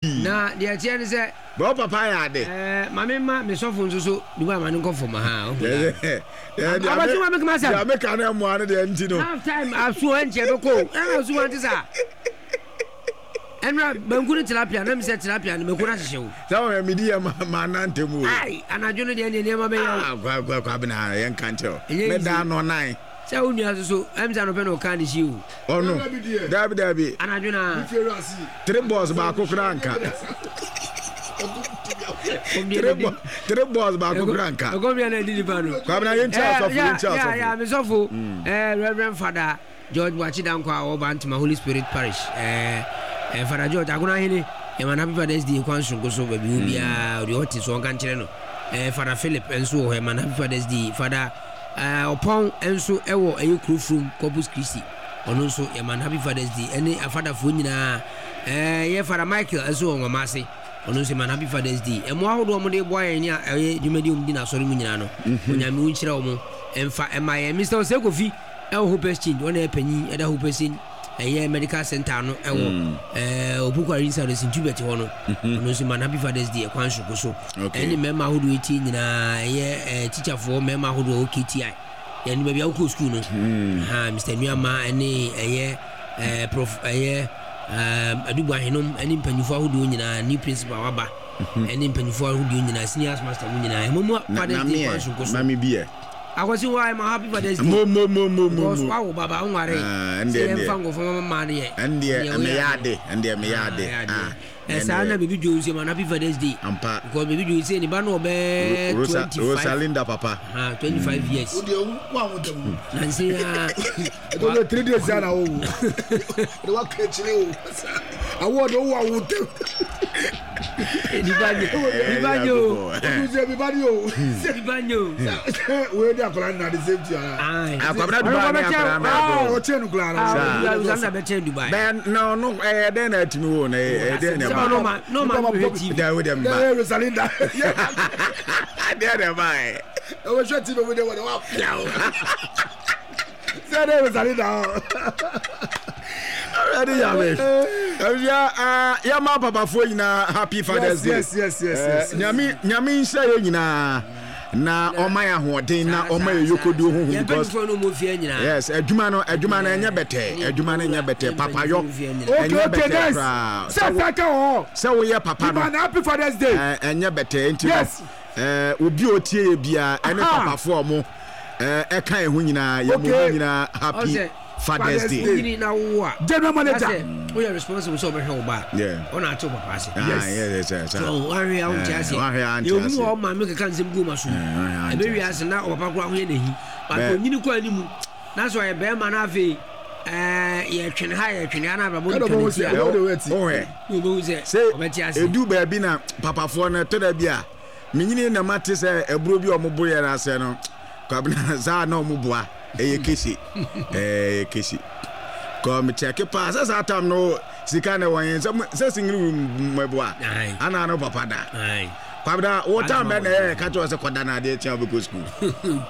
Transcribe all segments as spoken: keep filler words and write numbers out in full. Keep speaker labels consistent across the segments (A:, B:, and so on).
A: Na deɛ ɛteɛ ne sɛ.
B: Bɛ wo papa yɛ ade.
A: Ɛɛ maame ma me sɔfo nso so dubai ma ne nkɔ fam ha. Abasi wa mi kuma sɛm.
B: Deɛ meka no mmoa no deɛ nti no.
A: Half time aso ɛnkyɛ bɛ kɔ ɛna aso wa nti saa. Ɛnura banku ne tilapia na mi sɛ tilapia no mako na hyehyɛ o.
B: Sɛ wɔn mi di yɛ ma ma nante mu o.
A: Ayi anadwo no deɛ nneɛma bɛyɛ o.
B: Ah kwa kwa kwa bena yɛn ka nkyɛn o. Mɛ da anɔ nan.
A: Sɛ wo nua soso ɛm sɛ anɔpɛ na ɔkaa ne hyi o.
B: Ɔno dabi dabi.
A: Anadwo na.
B: Three balls baako koraa nka. Three balls three balls baako koraa nka.
A: Ɛkɔm yɛn na ɛdi nipa no.
B: Kwabena yɛn ti asɔfo yɛn ti asɔfo.
A: Ya ya mi sɔfo ɛɛ Reverend Father George Boakye Dankwa a ɔwɔ Bantama Holy Spirit Parish ɛɛ ɛɛ Father George Agona Ahene yɛn ma no Happy Father's Day kwan soronko so baabi wɔ biara ɔde ɔte so ɔnka nkyerɛ no ɛɛ Father Philip nso wɔ hɔ yɛn ma no Happy Father's Day Father ɛɛ Ɔpɔn nso ɛwɔ ɛyɛ kuro furom Corpus Christi ɔno nso yɛn ma no Happy Father's Day ɛne afadafoɔ nyinaa ɛɛ yɛ Father Michael nso wɔ Nwoma ase ɔno nso yɛn ma no Happy Father's Day ɛmoa ahodoɔ a wɔde boa yɛn ne ɛyɛ dwumadi a wɔdi n'asɔre mu nyinaa no Onyame wo nhyira wɔn ɛmfa ɛma yɛn Mister Osei Kofi ɛwɔ Hope Exchange ɔna yɛ panyin ɛda Hope Exchange ɛyɛ medical center no ɛwɔ ɛɛ Opoku Inside Saint Hubert hɔ no ɔno nso ma no Happy Father's Day ɛkwan soronko so ɛne mmarima ahodoɔ etie nyinaa ɛyɛ ɛɛ teacherfoɔ mmarima ahodoɔ ɛwɔ K T I yɛn baabi a wokɔ sukuu no ha Mister Nuama ɛne ɛyɛ ɛɛ prof ɛyɛ ɛɛ Adubu Ahenom ɛne mpanyinfoɔ ahodoɔ nyinaa new principal waba ɛne mpanyinfoɔ ahodoɔ nyinaa senior master mu nyinaa ɛmo mu Father's Day kwan soronko so.
B: Mami bi yɛ.
A: Akwasi wa ma happy Father's Day.
B: Mo mo mo mo mo.
A: Because wa wo baba nware.
B: Ah,
A: sɛ yɛn fa nkɔfɔ mama maa no yɛ.
B: Ɛndeɛ meyɛ ade ɛndeɛ meyɛ ade. Ah.
A: Ɛsaa na baby Joe nso ma happy Father's Day.
B: Ampa.
A: Because baby Joe sɛ ne ba no ɔbɛ twenty five.
B: Rosalinda papa.
A: Ah, twenty five years.
C: O deɛ wo a wo dɛm.
A: Nansi ya.
C: Ɛdɔ bɛ three days ya na wo wo. Ɛdɔ wa kɛkyerɛ o. Awɔ de wo a wo dɛm.
A: Nipa nye nipa nye o.
C: Odu sɛ nipa nye o.
A: Nipa nye o.
C: Wei de akwadaa nna de same thing ara.
B: Akwabena Dubai ne akwadaa na ɛbɔ.
C: Ɔkyɛn no koraa na.
A: Rosalinda bɛ kyɛn Dubai.
B: Bɛn na ɔno ɛyɛ dɛn na atumi wo na ɛyɛ dɛn na ɛba.
A: Sɛ ɔno ma no ma hwɛ T V.
B: Dɛ wo dɛ mba.
C: Dɛ Rosalinda.
B: Dɛ dɛ ba yɛ.
C: Ɛwɔ hwɛ T V mu dɛ wɔ dɛ wa pia o. Sɛ dɛ Rosalinda o.
B: Ɛdi yame. Ɛwia yɛ ma papafoɔ nyinaa happy Father's Day.
C: Yes yes yes yes.
B: Nyame nyame nhyɛ yɛ nyinaa na ɔma yɛ ahoɔden na ɔma yɛ yokoduo honhom because yes adwuma no adwuma no ɛnyɛ bɛtɛ adwuma no ɛnyɛ bɛtɛ papayɔ ɛnyɛ bɛtɛ koraa sɛ woyɛ papa no
C: happy Father's Day
B: ɛnyɛ bɛtɛ nti no obi a otie yɛ biara ɛne papafoɔ ɔmo ɛka yɛn ho nyinaa yɛ mo nyinaa happy Father's Day.
A: Wonyini na wowo a.
C: General manager.
A: Sɛ woyɛ responsible sɛ ɔbɛhwɛ wo ba. Ɔna ate wo papa ase.
B: Yes. Yes yes.
A: So wahwɛ a wonte ase.
B: Wahwɛ a
A: nte ase. Yɛ obi wɔ maame keka nsɛm gu ma so. Ɛbɛ wi ase na ɔpapa koraa ho yɛ n'ahi. But onyini kɔ anim na sɛ ɔyɛ bɛrima na afei ɛɛ yɛtwene ha yɛtwene ha na abrabɔ no twa ne ti a.
B: Wohwɛ.
A: Wobɛhu sɛ ɔbɛte ase.
B: Edu baabi na papafoɔ no ɛtɔ da bi a menyini na mate sɛ aburo bi a ɔmo bo yɛ no ase no kwabena saa na ɔmo boa ɛyɛ kese ɛyɛ kese kɔ mekyɛke paa sɛ saa tam no sika na wɔn yɛn sɛ sɛ single room mɛboa ana no papa da kwabena wo tam bɛ na ɛyɛ ka kyerɛ sɛ kɔda na adeɛ kyɛn wobɛkɔ sukuu.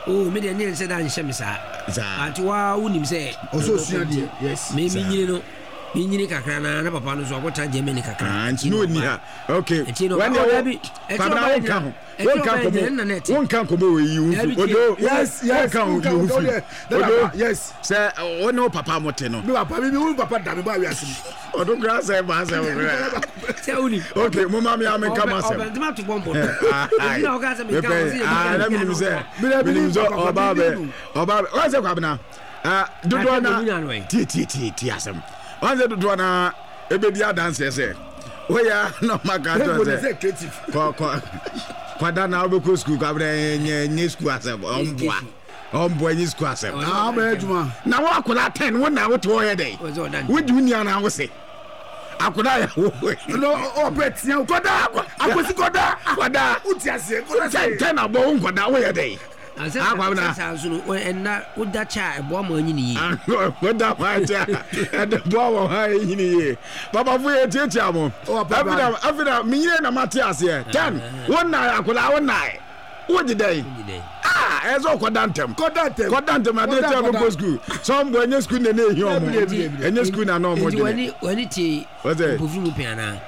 A: Oh, me deɛ ne nsɛ da nhyɛ me saa.
B: Saa.
A: But wa wonim sɛ.
C: Ɔsɛ osua deɛ. Yes.
A: Me me nyini no. Me nyini kakra na na papa no so akɔtena Germany kakra.
B: Ah, nti no ni ha. Okay.
A: Nti no.
B: Wɛn deɛ kwabena wo nka ho. Wonka nkɔmɔ wonka nkɔmɔ wɔ yi wo fi odo
C: yes yes
B: wonka wo fi odo
C: yes
B: sɛ wo ne wo papa mo te no
C: mi papa mi mi wo papa da mi ba wi ase mi
B: ɔdo kura sɛ ba sɛ wo kura
A: sɛ wo ni
B: okay mo ma mi ame nka ma sɛm
A: ɔbɛn tuma to bɔn bɔ ebi na ɔka sɛ mi nka wɔ sɛ
B: yɛ bi na mi sɛ mi nim sɛ ɔba bɛ ɔba bɛ wɔn sɛ kwabena dodoɔ na tie tie tie tie asɛm wɔn sɛ dodoɔ na ebedi adanseɛ sɛ woyɛ na ɔma ka kyerɛ sɛ kɔ kɔ kwada na wobɛkɔ sukuu kwabrɛ nyɛ nyɛ sukuu asɛm ɔmboa ɔmboa nyɛ sukuu asɛm na wo akwadaa ten wo na wote hɔ yɛ dɛn wodi wo nua na wo se akwadaa yɛ wo
C: no ɔpɛ tia kɔda akwasi kɔda
B: kɔda
C: wote aseɛ kɔda
B: sɛ ten abɔ wo nkɔda woyɛ dɛn
A: Akwabena saa nso no ɛnna woda kyɛ a ɛboa ma anyini yie.
B: Woda hɔ akyɛ a ɛde boa wɔn ha anyini yie. Papafo yɛ tiatia mo. Afei afei na menyine na mate aseɛ. Ten wo nnae akwadaa wo nnae. Wogye dɛn? Ah, ɛyɛ sɛ ɔkɔda ntɛm.
C: Kɔda ntɛm.
B: Kɔda ntɛm adeɛ kyɛ bɛkɔ sukuu. Sɛ ɔmboa ɛnyɛ sukuu na ɛna ehia ɔmo. Ɛnyɛ sukuu na na ɔmo dwene.
A: Nti w'ani tie mpofiri mu pɛn anaa?